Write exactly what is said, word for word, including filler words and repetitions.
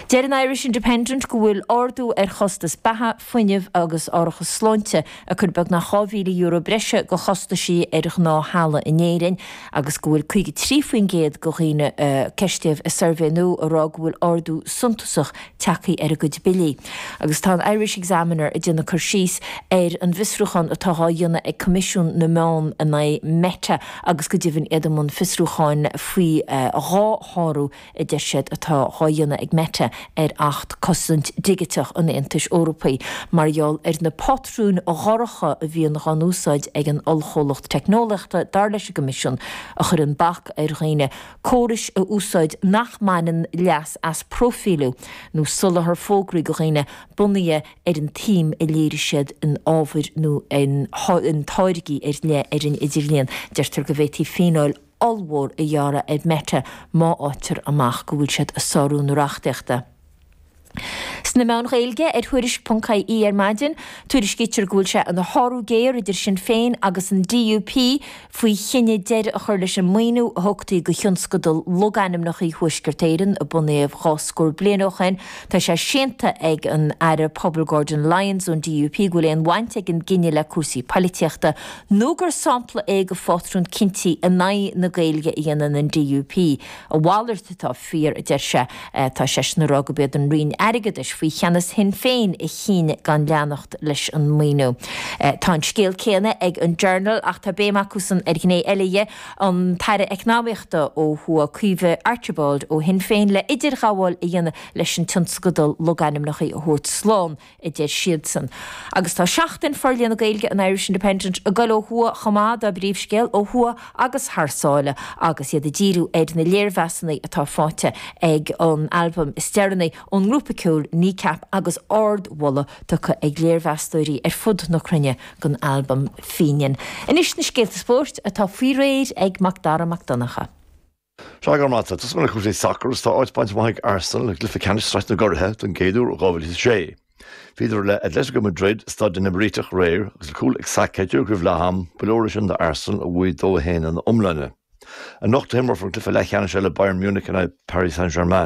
Deir an Irish Independent go bhfuil ardú ar chostas beatha, fuinnimh agus árachas sláinte ag cur beagnach dhá mhíle euro breise go chostaisí ar ghnáth-theaghlaigh in Éirinn agus go bhfuil caoga trí faoin gcéad de dhaoine a ceistíodh i suirbhé nua ag rá go bhfuil ardú suntasach tagtha ar a gcuid billí. Agus tá an Irish Examiner ag déanamh cur síos ar an bhfiosrúchán atá á dhéanamh ag Coimisiún na Meán in aghaidh Meta agus go deimhin iad i mbun fiosrúcháin faoi dhá shárú a deir siad atá á dhéanamh ag Meta ar Acht Cosaint Dhigiteach an Aontais Eorpaigh mar gheall ar na pátrúin dhorcha a bhíonn á n-úsáid ag an ollchomhlacht teicneolaíochta, dar leis an gCoimisiún, a chuireann bac ar dhaoine córais a úsáid nach mbaineann leas as próifíliú nó soláthar fógraí do dhaoine bunaithe ar an tsuim a léirigh siad in ábhair nó in táirgí ar leith ar an idirlíon. Deirtear go bhféadfaí fíneáil ollmhór a ghearradh ar Meta má fhaightear amach go bhfuil siad ag sárú na reachtaíochta. Sna meáin Ghaeilge ar Thuairisc ponc IE ar maidin, tuairiscítear go bhfuil sé ina shárú géar idir Sinn Féin agus an DUP faoi chinneadh deireadh a chur leis an maoiniú a thugtaí do thionscadal logainmneacha Thuaisceart Éireann a bunaíodh dhá scór bliain ó shin. Tá sé séanta ag an Aire Pobal Gordon Lyons ón DUP go bhfuil aon bhaint ag an gcinneadh le cúrsaí poilitíochta nó gur sampla é de phátrún cinntí in aghaidh na Gaeilge a dhéanann an DUP. A mhalairt atá fíor, a deir sé. Tá seisean ag rá gurb iad an Roinn Airgeadais faoi cheannas Shinn Féin a chinn gan leanacht leis an maoiniú. Tá an scéal céanna ag an Journal ach tá béim acusan ar ghné eile dhe, an tAire Eacnamaíochta ó thuaidh Caoimhe Archibald ó Shinn Féin le idirghabháil a dhéanamh leis an tionscadal logainmneacha a thabhairt slán, a deir siadsan. Agus tá Seachtain Forlíonadh na Gaeilge an Irish Independent ag goil ó thuaidh chomh maith dá bpríomhscéal, ó thuaidh agus thar sáile, agus iad ag díriú ar na léirmheasanna atá faighte ag an albam is deireanaí ón ngrúpa ceoil Kneecap agus ardmholadh tugtha ag léirmheastóirí ar fud na cruinne don albam Fínian. Anois na scéalta spóirt atá faoi réir ag Macdara Mac Donncha. Sea, go raibh maith agat. Tosóidh mé le cúrsaí sacair agus tá áit bainte amach ag Arsenal i gcluiche ceannais Sraith na gCuraithe don gcéad uair ó dhá mhíle is a sé. Bhíodar le Atletico Madrid i Staid na mBríteach aréir agus le cúl ag Saka díreach roimh leath am, ba leor é sin d'Arsenal a bhuaigh dó a haon ina iomláine. Anocht a himreofar an cluiche leathcheannais eile Bayern Munich in aghaidh Paris Saint-Germain.